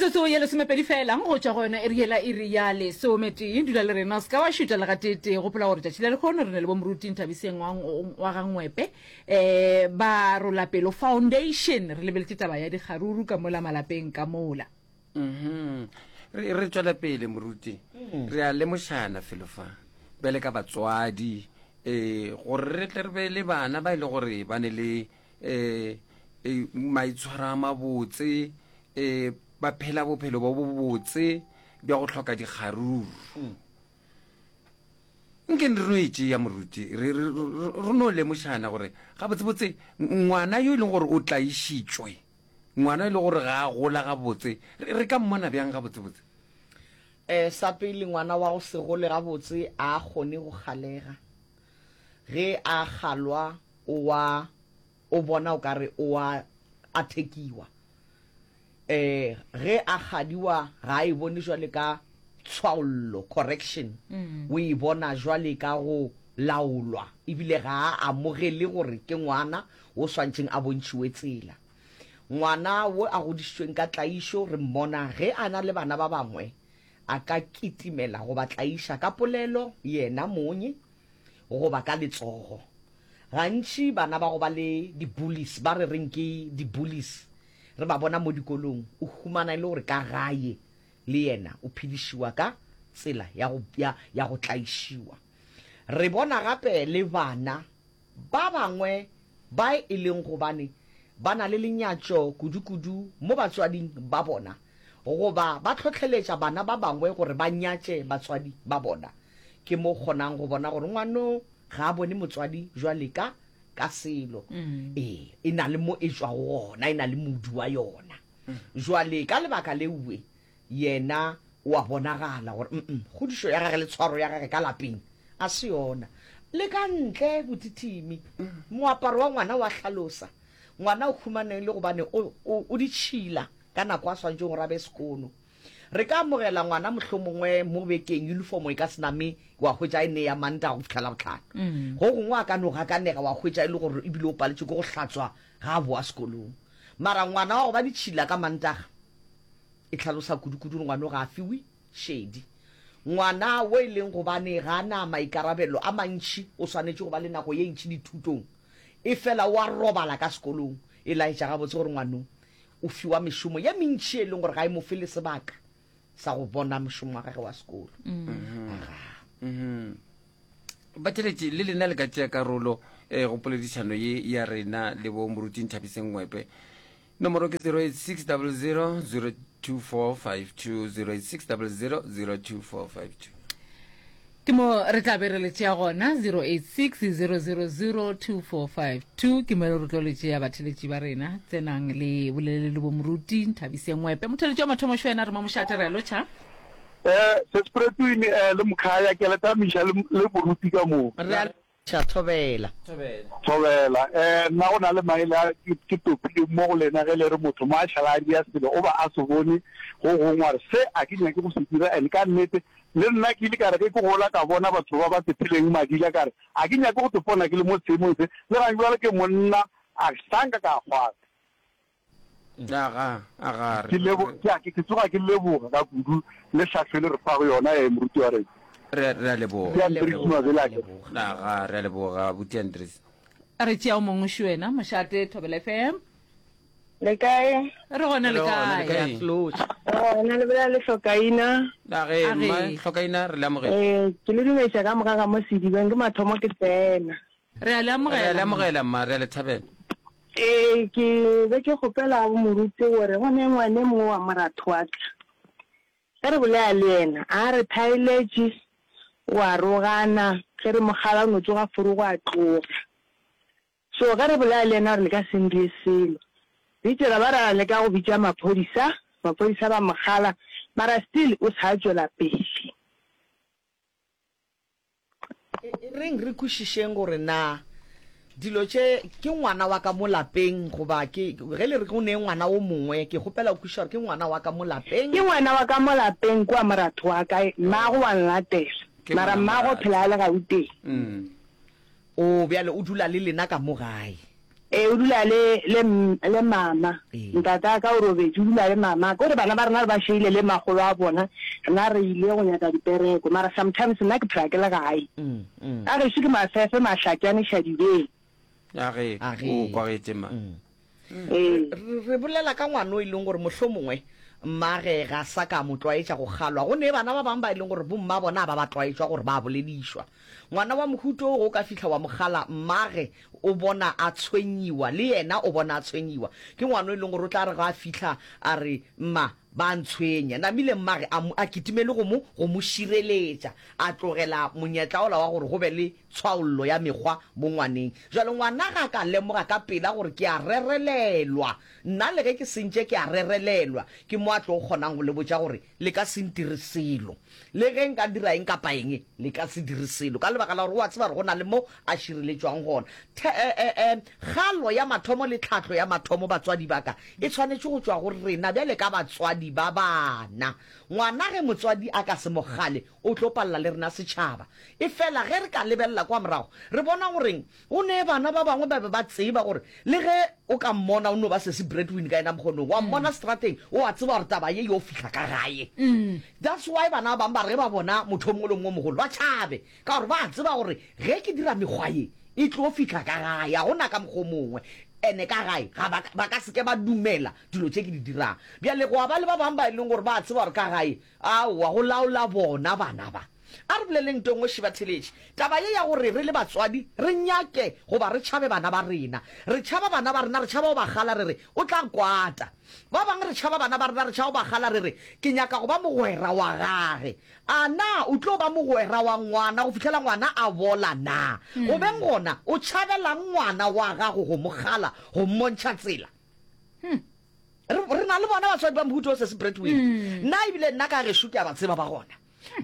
Metsotso ye lesomepedi fela go tšwa go yona iri yela iri ya lesometee. Dula le rena, o se ka wa šuta le gateetee. Gopola gore tšatši la lehono re na le bo Moruti Nthabiseng wa, wa ga Ngwepe um ba Rolapelo Foundation. Re lebeletše taba ya dikgaruru ka mola malapeng ka mola. Mhm. Re, re tšwela pele moruti. Re a lemošana felo fa. Bjale ka batswadi, eh, gore re tle re be le bana ba e le gore ba ne le eh, eh, maitshwaro a mabotse, eh, ba phela bophelo bo bobotse bja go hloka dikgaruru. Nke re no e tšea moruti, re, re, re, re no lemošana gore gabotsebotse ngwana yo e leng gore o tlaišitšwe, Ngwana e le gore ga a gola gabotse, re, re ka mmona bjang gabotsebotse? E, sa pele, ngwana wa go se gole gabotse a a kgone go kgalega. Ge a kgalwa o wa, o bona o ka re o a athekiwa. E, ge a kgadiwa ga a e bone jwale ka tshwaollo, correction, o e bona jwale ka go laolwa, ebile ga a amogele gore ke ngwana wo swantšeng a bontšhiwe tsela. Ngwana wo a godišitšweng ka tlaišo re mmona ge a na le bana ba bangwe, a ka kitimela go ba tlaiša ka polelo yena monye goba ka letsogo. Gantši bana ba go ba le di-bullies, ba re reng ke di-bullies, re ba bona mo dikolong, o humana e le gore ka gae le yena o phedišiwa ka tsela ya go, ya, ya go tlaišiwa. Re bona gape le bana Ba bangwe ba e leng gobane ba na le lenyatšo kudu-kudu mo batswading ba bona goba ba hlohleletša bana ba bangwe gore ba nyatše batswadi ba bona. Ke mo o kgonang go bona gore ngwano ga a bone motswadi jwale ka ka selo. Ee, e na le mo e tšwago gona, e na le modu wa yona. Jwale ka lebaka leue Yena o a bonagala gore mm kgodišo ya gage le tshwaro ya gage ka lapeng a se yona. Le ka ntle botitimi, moaparo wa ngwana o a hlalosa. Ngwana o humane le gobane o, o, o ditšhila ka nako a swanetšeng gore a be sekono. Re ka amogela ngwana mohlomongwe mo bekeng uniform e ka se name wa hwetša e ne ya Mantaga go fihla Labohlano. Go gongwe a ka no gakanega wa hwetša e le gore ebile o paletšwe ke go hlatswa ga a boa sekolong. Mara ngwana wa go ba ditšhila ka Mantaga E hlalosa kudu-kudu gore ngwano ga a fiwe šedi. Ngwana wo e leng gobane ga a na maikarabelo a mantši o swanetše go ba le nako ye ntši dithutong, efela o a robala ka sekolong. E laetša gabotse gore ngwano o fiwa mešomo ye mentši e leng gore ga e mo fe le sebaka sa go bona mošomo wa gagwe wa sekolo. Agaa. Batheeletši, le lena le ka tšea karolo eh, go poledišano ye ya rena le bo Moruti Nthabiseng Ngwepe. Nomoro ke 086 00 02452 086 00 02452. Ke mo re tla be re le tšea gona 086 000 2452 ke mo re tlo le tšea batheletši ba rena tsenang le bolele le bo moruti Nthabiseng Ngwepe motheletši wa mathomo šo yena re mo mošate re a lotšha Eh, Sespretuini eh, le Mkhaya ke le tamiša le, le moruti ka moo. Re a Tša thobela. Thobela. Eh, nna go na le maele a ke, ke topileng mo go lena ge le re motho mo a šala a dia selo o ba a se bone go gongwe a re se a ke nyake go se dira and ka nnete le nna ke ile ka re ge ke gola ka bona batho ba ba sepheleng madila ka re a ke nyake go tepona ke le mo seemong se le gang bjale ke monna a sanka ka kgwata. Aga, aga, Ke lebo, ke a, ke tsoga ke leboga ka kudu le hlahlo le re fago yona, eh, moruti wa rena. Re, re a leboga. Ke Andries Mabelake. Aga, re a leboga, buti Andries. A re tšea o mongwe šo wena, Mošate, Thobela FM. Le kae? Re gona le Re gona, le kae? kae? Re gona, le bolela le Hlokaina. Age, Age. mma Hlokaina, re le amogela. Eh, ke le dumediša ka moka ka mo sedibeng, ke mathomo ke tsena. Re a le Re a amogela. le amogela, mma, re a le thabela. Ee, ke be ke kgopela go moruti gore go ne ngwane mongwe wa moratho wa ka. Ge re bolela le yena, a re thaeletše, o a rogana, ge re mo kgala o no tsoga forogo a tloga. So ge re bolela le yena gore le ka se ndie selo. Re itše ra ba ra leka go bitša maphodisa, maphodisa ba mo kgala, mara still o sa tšwela pele. E reng re kwešišeng gore na dilo tše ke ngwana wa ka mo lapeng goba ke ge le re go ne ngwana o mongwe, ke kgopela go kwešiša gore ke ngwana wa ka mo lapeng. Ke ngwana wa ka mo lapeng kua moratho wa ka, mmago wa nlatela, Ke mara ngwana mmago o moratho. phela a le Gauteng. O bjale o dula le lena ka mo gae. Ee, o dula le, le, le mama. Ntate wa ka o robetše, o dula le mama. Ke gore bana ba rena re ba šeile le makgolo a bona, rena re ile go nyaka dipereko. Mara sometimes nna ke phela ke le gae. Ka gešo ke Mafefe, Mahlatšane, Šadibeng. A ge, o kwagetše ma. Ee. Re bolela ka ngwana o e leng gore mohlomongwe mmage ga sa ka mo tlwaetša go kgalwa. Go ne bana ba bangwe ba e leng gore bomma bona ga ba ba tlwaetšwa gore ba boledišwa. Ngwana wa mohuta wo ge o ka fihla wa mo kgala, mmage o bona a tshwenyiwa, le yena o bona a tshwenyiwa. Ke ngwana o e leng gore o tla re ge a fihla a re, Mma, ba a ntshwenya. Namile mmage a mo, a kitimele go mo, go mo šireletša, a tlogela monyetla wola wa gore go be le tshwaollo ya mekgwa mo ngwaneng. Bjale ngwana ge a ka lemoga ka pela gore ke a rerelelwa, nna le ge ke sentše ke a rerelelwa, ke mo a tlo kgonang go le botša gore le ka se ntire selo. Le ge nka dira eng kapa eng, le ka se dire selo, ka lebaka la gore o a tseba gore go na le mo a šireletšwang gona. The, e, e, e, kgalo ya mathomo le tlhahlo ya mathomo, batswadi ba ka, e swanetše go tšwa go rena bjale ka batswadi ba bana. Ngwana ge motswadi a ka se mo kgale, o tlo palela le rena setšhaba. Efela ge re ka lebelela kwa morago, re bona goreng Go ne bana ba bangwe ba be ba tseba gore le ge o ka mmona o no ba sesi breadwin ka yena mokgonong, wa mmona strateng, o a tseba gore taba ye yo fihla ka gae. That's why bana ba bangwe ba re ge ba bona motho o mongwe le o mongwe o mogolo ba tšhabe, ka gore ba a tseba gore ge ke dira mekgwa ye e tlo fihla ka gae, ga go na ka mokgwa o mongwe. Ene ka gae ga ba, ba ka se ke ba dumela dilo tše ke di dirang. Bjale gwa ba le ba bangwe ba e leng gore ba a tseba gore ka gae, aowa, go laola bona bana ba. A re boleleng nto nngwe Šibatheletši. Taba ye ya gore re le batswadi re nyake goba re tšhabe bana ba rena. Re tšhaba bana ba rena, re tšhaba go ba kgala re re, O tla kwata. Ba bangwe re tšhaba bana ba rena, re tšhaba go ba kgala re re, Ke nyaka go ba mogwera wa gage. A na o tlo ba mogwera wa ngwana go fihlela ngwana a bola na? Go beng gona, o tšhabelang ngwana wa gago go mo kgala, go mmontšha tsela? Re, re na le bona batswadi ba mohuta o sesi Bradwin. Nna ebile nna ka gešo ke a ba tseba ba gona.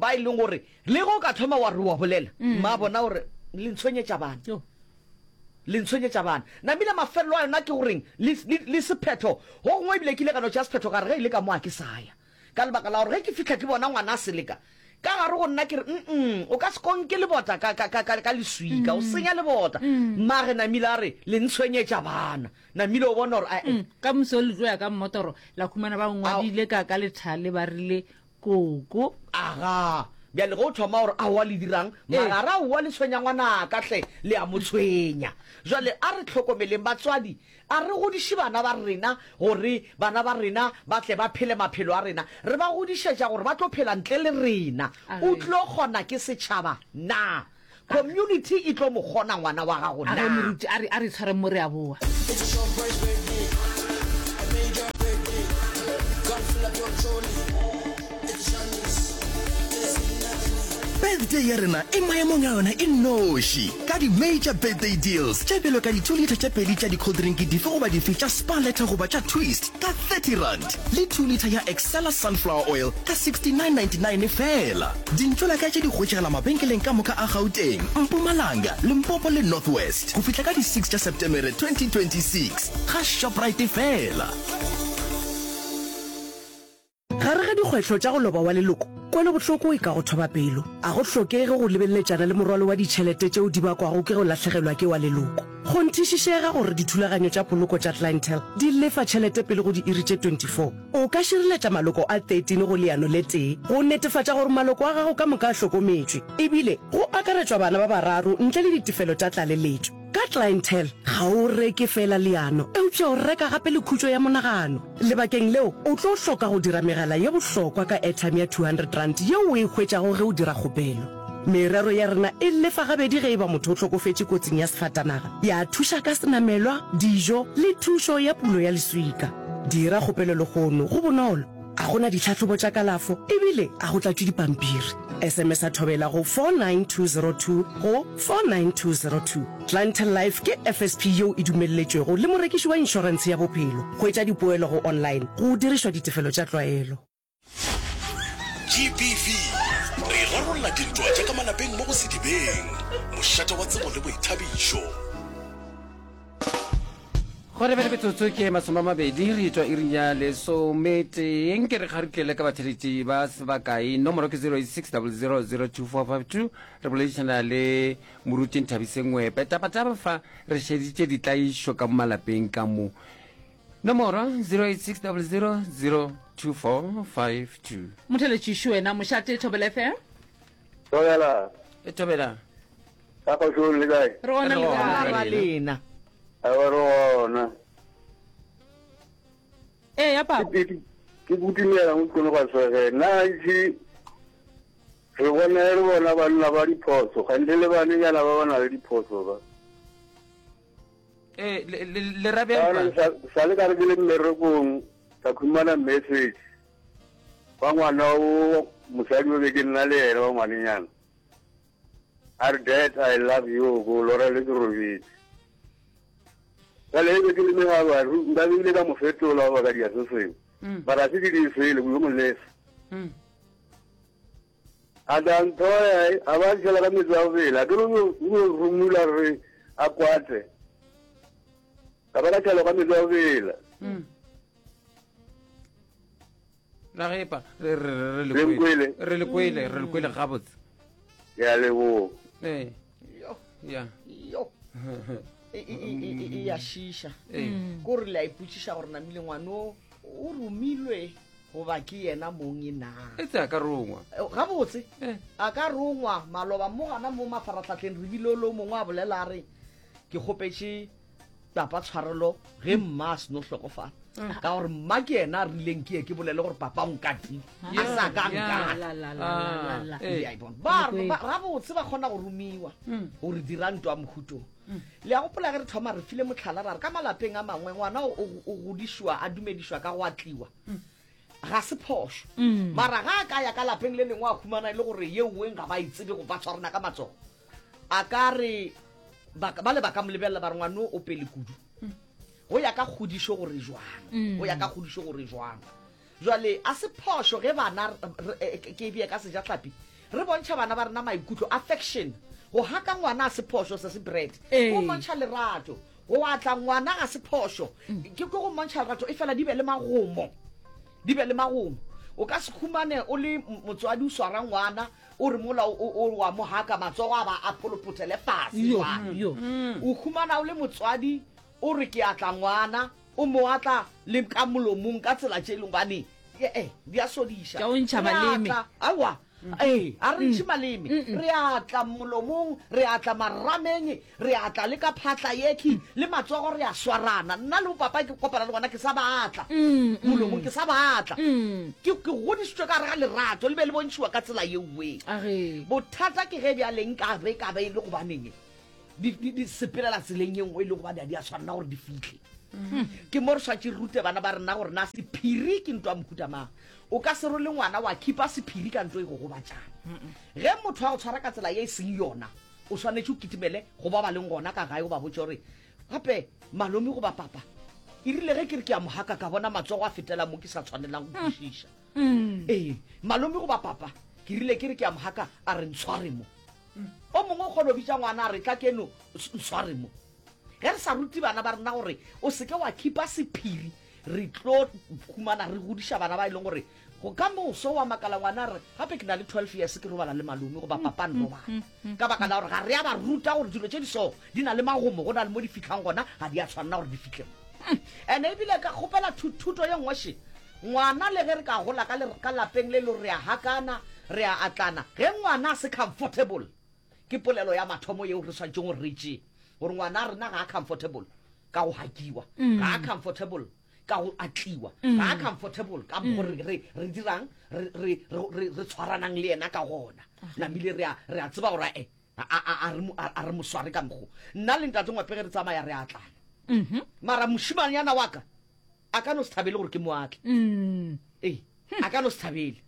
Ba e leng gore le ge o ka thoma wa re wa bolela, mma bona gore le ntshwenyetša bana. Le ntshwenyetša bana. Namile mafelelo a yona ke goreng le, le, le sephetho. Go gongwe ebile ke ile ka no tšea sephetho ka re ge e le ka mo a ke sa ya. Ka lebaka la gore ge ke fihla ke bona ngwana a seleka, ka gare go nna ke re, Mm-mm, o ka se konke lebota ka, ka, ka, ka, ka leswika, o senya lebota. Mmage Namile a re, Le ntshwenyetša bana. Namile o bona gore, ae. Ka moso le tlo ya ka mmotoro, la khumana ba ngwadile ka, ka lethale ba rile Koko. Aga, bjale ge o thoma gore aowa le dirang, mara a re aowa le tshwenya ngwanaka hle, le a mo tshwenya. Jwale a re hlokomeleng batswadi, a re godiše bana ba rena gore bana ba rena ba tle ba phele maphelo a rena. Re ba godišetša gore ba tlo phela ntle le rena. O tlo kgona ke setšhaba na? Community e tlo mo kgona ngwana wa gago A re na? moruti, a re, a re tshwareng mo re a boa. Birthday ya rena e maemong a yona e nnoši ka di-major birthday deals tše bjalo ka di-2 litre tše pedi tša di-cold drink dife goba dife tša Spar Letter goba tša Twist ka 30 rand le 2 litre ya Excella sunflower oil ka 69.99 feela. Dintšolaka tše di hwetšagala mabenkeleng ka moka a Gauteng, Mpumalanga, Limpopo le North West go fihla ka di 6 tša Setemere 2026 ga Shoprite feela. Gare ga dikgwetlho tša go loba wa leloko, kwelobohloko e ka go thoba pelo. A go hlokege go lebeleletšana le morwalo wa ditšhelete tšeo di bakwago ke go lahlegelwa ke wa leloko. Kgonthišišega gore dithulaganyo tša poloko tša Clientele di lefa tšhelete pele go diiri tše 24. O ka šireletša maloko a 13 go leano le tee go netefatša gore maloko a gago ka moka a hlokometšwe, ebile go akaretšwa bana ba bararo ntle le ditefelo tša tlaleletšo. Ka Clientele, ga o reke feela leano, eupša o reka gape le khutšo ya monagano. Lebakeng leo, o tlo hloka go dira megala ye bohlokwa ka airtime ya R200 yeo o e hwetšago ge o dira kgopelo. Merero ya rena e lefa gabedi ge e ba motho o hlokofetše kotsing ya sefatanaga, ya thuša ka senamelwa, dijo le thušo ya pulo ya leswika. Dira kgopelo lehono, go bonolo, ga go na ditlhahlobo tša kalafo ebile ga go tlatšwe dipampiri. SMS-a Thobela go 49202 go 49202. Clientele Life ke FSP yeo e dumelletšwego le morekiši wa inšorentshe ya bophelo. Hwetša dipoelo go online go dirišwa ditefelo tša tlwaelo. GBV, Re rarolla dintwa tša ka malapeng mo go Sedibeng, mošate wa tsebo le boithabišo. Go lebele metsotso ke masomamabedi re etšwa iring ya lesometee. Nke re kgarutlele ka batheletši ba se bakae. Nomoro ke 0860002452. Re boledišana le Moruti Nthabiseng Ngwepe. Tabataba fa re šeditše ditlaišo ka mo malapeng ka mo. Nomoro 0860002452. Motheletši wena mošate Thobela FM. Thobela. E Thobela. Ka kgošong le kae? Re gona le kae? Ra lena. Awa re gona. Ee ya papa. Ke ke kutumela mo kgone go swege. Na itse re bona re bona banna ba diphoso, ganthe le banenyana ba ba na le diphoso ba. Ee, le le le ra bjang pa? Sa le ka re ke le mmerekong ka khumana message wa ngwana o mosadi o be ke nna le yena wa ngwanenyana. A re dad I love you ko lora le ke robetse. Jale e be ke le megabaru nka be ile ka mo fetola goba ka dia se sengwe. Mm. Mara se ke di sele yo mo lesa. Mm. A tla nthoya a ba tshela ka metsi a go bela ke lo rumula re a kwate. Ka ba ka tshela ka metsi a go bela. Mm. La gepa re re re le kwele re le kwele re le kwele gabotse ya leboga ee ya yo e, e, e, e ya šiša ko re le a ipotšiša gore namile ngwano o romilwe goba ke yena mong e na e tse a ka rongwa gabotse a ka rongwa maloba mo gana mo mafaratlhatlheng re bile lo mongwe a bolela a re ke kgopetše papa tshwarelo ge mma a seno hlokofala mm. ka gore mma ke yena a rileng ke ye ke bolele gore papa o nkatile a sa ka nkatgabotse ba kgona go romiwa mm. gore dira ntwa mohutong mm. le ya gopola ge re thoma re file motlhala ra re ka malapeng a mangwe ngwana o godišwa a dumedišwa ka go atliwa ga se phošo mara ga a ka ya ka lapeng le lengwe a humana e le gore yeuweng ga ba e tsebe go ba tshwarana ka matsogo A ka re, ba, bale ba ka mo lebelela ba re ngwano o pele kudu. Go ya ka kgodišo gore jwang. Go ya ka kgodišo gore jwang. Jwale a se phošo ge bana, re, ke e bee ka sejahlapi, re bontšha bana ba rena maikutlo, affection. Go haka ngwana a se phošo, se se bread. Ke go mmontšha lerato. Go atla ngwana ga se phošo, ke, ke go mmontšha lerato, efela di be le magomo. Di be le magomo. O ka se humane o le motswadi o swara ngwana, O re mola o, o, wa mo haka, matsogo a ba a pholopothele fase Yo, jwale. yo. O humana o le motswadi, o re ke atla ngwana, o mo atla le ka molomong ka tsela tše e leng gobane e-e di a sodiša. Tša o ntšha Re maleme. atla, aowa, ee, a re ntšhe maleme. Re atla molomong, re atla marameng, Re a tla le ka phatla yekhwi, le matsogo re a swarana. Nna le bopapa ke kopana le bona ke sa ba atla molomong, ke sa ba atla. Ke, ke godišitšwe ka gare ga lerato, le be le bontšhiwa ka tsela yeoe. Bothata ke ge bjale nka be ka be e le gobaneng di, di, di sepelela tseleng ye nngwe e le gobane ga di a tshwanela gore di fihle. Ke mo re swanetše re rute bana ba rena gore na sephiri ke ntwa mohuta mang. O ka se role ngwana wa khipa sephiri ka nto e go gobatšang. Ge motho a go tshwara ka tsela ye e seng yona, O swanetše o kitimele go ba ba leng gona ka gae o ba botše gore, Gape malome goba papa, e rile ge ke re ke a mo haka ka bona matsogo a fetela mo ke sa tshwanelang go kwešiša. Ee, malome goba papa, ke rile ke re ke a mo haka a re ntshware mo. O mongwe o kgona go bitša ngwana a re tla keno ntshware mo. Ge re sa rute bana ba rena gore o se ke wa khipa sephiri, re tlo humana re godiša bana ba e leng gore go ka moso wa makala ngwana a re gape ke na le 12 years ke robala le malome goba papa nrobala ka baka la gore ga re a ba ruta gore dilo tše di so di na le magomo go na le mo di fitlhang gona ga di a tshwanela gore di fitlhe mo ene ebile ka kgopela thuto ye nngwe še ngwana le ge re ka gola ka lapeng le le re a hakana re a atlana ge ngwana a se comfortable ke polelo ya mathomo yeo re swanetšeng gore re tšee gore ngwana a rena ga a comfortable ka go hakiwa mm. ga a comfortable ka go atliwa mm. ga a comfortable ka mm. gore re re dirang re re re re tshwaranang le yena ka gona namile re a re a tseba gore e a a a re a re mo sware ka mokgo nna le ntate ngwape ge re tsamaya re atlana mm-hmm. mara mošimanyana wa ka a ka no se thabele gore ke mo atle mm. ee a ka no se thabele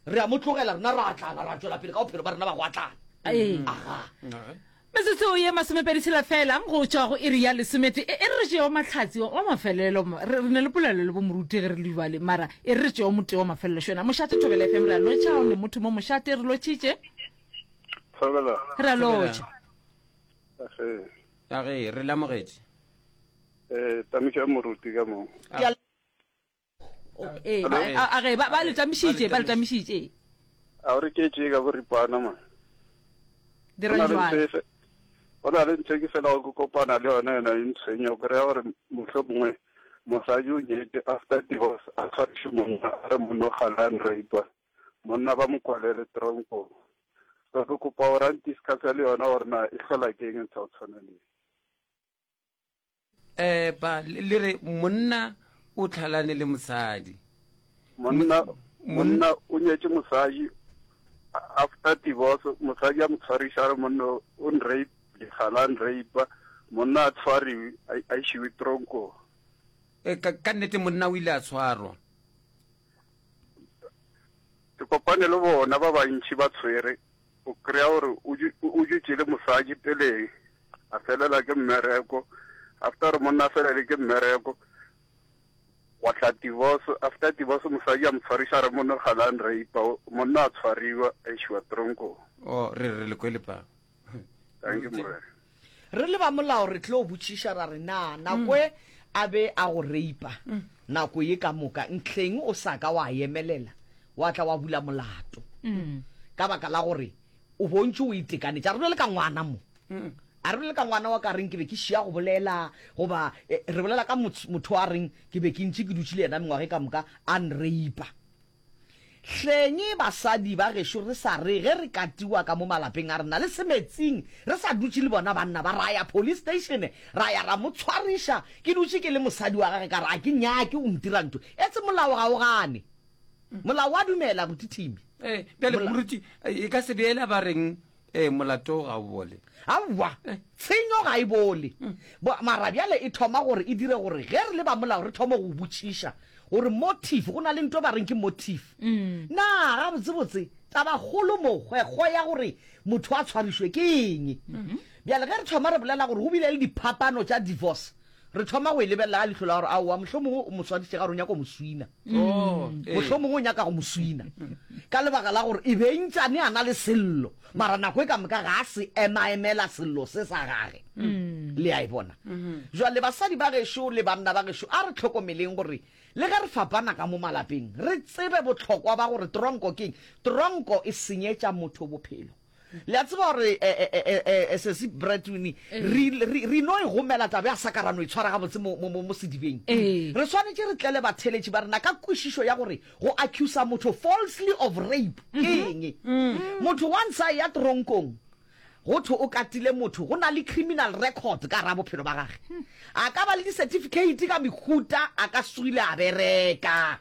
re a mo tlogela rena ra atlana ra tswela pele ka bophelo ba rena ba go atlana aga Metsotso ye masomepeditshela fela go tšwa go iri ya lesomete. E, e re re tšeo mahlatsi wa mafelelo. Re, re ne le polelo le bomoruti ge re le bjale, mara e re re tšeo motee wa mafelelo. Šona, mošate Thobela FM, re a lotšha, o ne motho mo mošate, re lotšhitše. Thobela. Re a lotšha. Age. Age, re le amogetše. Eh, tamiša moruti ka mo. Ke a Ee, ba, a, a ge ba, ba le tamišitše, ba le tamišitše. A o re ke tše ka boripana man. Dira jwale. Go na le ntho e ke felago ke kopana le yona yona e ntshwenya o kry-a gore mohlomongwe mosadi o nyetše after divorce a tshwariše monna a re monna o gale a nrape monna ba mo kwalele tronkong so ke kopa gore a ntiscusse le yona gore na e hlola ke eng ntho ya go tshwana le Eh, ba le re monna o tlhalane le mosadi. Monna monna o nyetše mosadi after divorce mosadi a mo tshwariša a re monna o nrape ga la nrape monna a tshwariwe a išiwe tronkong. E, ka, ka nnete monna o ile a tshwarwa. Ke kopane le bona ba bantši ba tshwere O kry-a gore o dutše le mosadi peleng, a felela ke mmereko. After gore monna a felele ke mmereko, gwa tla divorce. After divorce mosadi a mo tshwariša a re monna ga la nrape, monna a tshwariwa a išiwa tronkong. Oh, re re le kwele pa. Thank you, Morena. Re le ba molao re tlo botšiša ra re, Na nako e a be a go reipa nako ye ka moka, ntlheng o sa ka wa emelela wa tla wa bula molato? Ka baka la gore o bontše o itekanetše. A re bolele ka ngwana mo. A re bolele ka ngwana wa ka reng ke be ke šia go bolela, goba re bolela ka motho a reng ke be ke ntše ke dutše le yena mengwaga e ka moka a nreipa. Hleng basadi ba gešo re sa re ge re katiwa ka mo malapeng a rena le semetsing re sa dutše le bona banna ba, ra ya police station ra ya ra mo tshwariša ke dutše ke le mosadi wa gage ka re a ke nyake o ntira ntho etse molao ga o gane molao wa dumela ruti Thimi. Eh, bjale moruti e ka se be ela ba reng eh, molato ga o bole. Aowa, tshenyo ga e bole. Bo, mara bjale e thoma gore e dire gore ge re le ba molao re thome go botšiša gore motive, go na le nto ba reng ke motive. Na gabotsebotse tabakgolo mo, kgwekgwe ya gore motho a tshwarišwe ke eng? Bjale ge re thoma re bolela gore go bile le diphapano tša divorce, Re thoma go e lebelela ka leihlo la gore aowa, mohlomongwe o mo swarišitše ka gore o nyaka go mo swina. Oh, ee. Mohlomongwe o nyaka go mo swina ka lebaka la gore e be ntšane a na le sello, mara nako e ka moka ga a se emaemela sello se sa gage. Le a e bona? Jwale basadi ba gešo le banna ba gešo, a re hlokomeleng gore le ge re fapana ka mo malapeng, re tsebe bohlokwa ba gore tronko ke eng. Tronko e senyetša motho bophelo. Le a tseba gore sesi Bradwin re re no e gomela taba ya saka ra no e tshwara gabotse mo mo mo sedibeng. Re swanetše re tlele batheeletši ba rena ka kwešišo ya gore go accusa motho falsely of rape ke eng. Motho once a eya tronkong go thwe o katile motho, go na le criminal record ka gara bophelo ba gage. A ka ba le di-certificate ka mehuta, a ka se tsogile a bereka.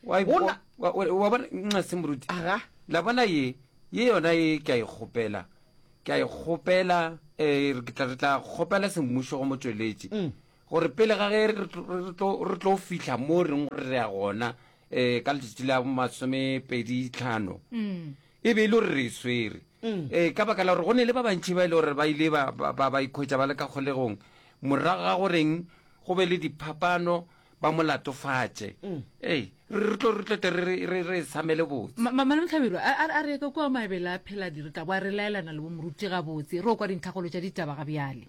Wa Go na- wa- wa- wa bona nxa se moruti Aga. la bona ye ye yona ye ke a e kgopela ke a e kgopela um ke tla re tla kgopela semmušo go motšweletši Mm. gore pele ga ge re tlo- re tlo re tlo fihla mo reng gore re ya gona um ka letšatši la masomepedi tlhano e be e le gore re e swere um ka baka la gore go ne le ba bantši ba e le gore ba ile ba- ba ba- ba ikhwetša ba le ka kgolegong morago ga goreng go be le diphapano ba mo latofatše. Ei, re tlo re tlo tle re re re samele botse. Malome Hlabirwa, a a re ka kua maebele a pheladi re tla boa re laelana le bo moruti gabotse, re o kwa dintlhakgolo tša ditaba ga bjale.